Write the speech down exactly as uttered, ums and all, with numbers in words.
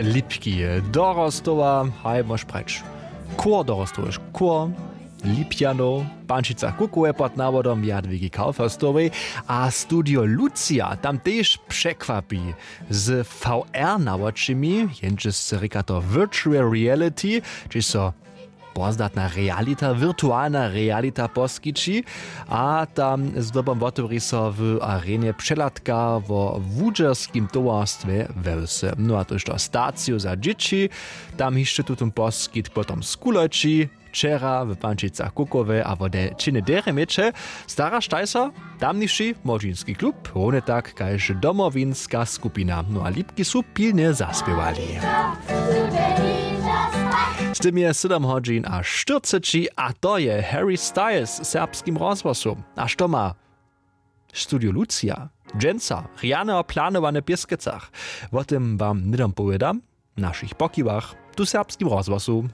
Lipki, dorostowa, haj mož prać, chór dorostowy, chór Lipjanow, pančica kukowe pod nawodom Jadwigi Kauferstowej a studio Lucia tam tež překwapi z V R nawočimi, jenčesce rěka to virtual reality, hdźež so pozdatna realita, virtualna realita poskići. A tam zdobom wotewri so w arenje přehladka wo wudźerskim towarstwje we wsy, no a tož to staciju za dźěći. Tam hišće tutón poskitk potom skuloći, wčera w pančicach kukowe a wode činy derje měće. Staraštaj so tamniši młodźinski klub, howny tak kaž domowinska skupina, no a lipki su pilnje zaspěwali. Z tym je sydom hodźin a štyrceći a to je Harry Styles w serbskim rozhłosu. A što ma studio Lucia dźensa rjane a planowane w Pěskecach? Wo tym wam hnydom powědam w našich pokiwach tu w serbskim rozhłosu.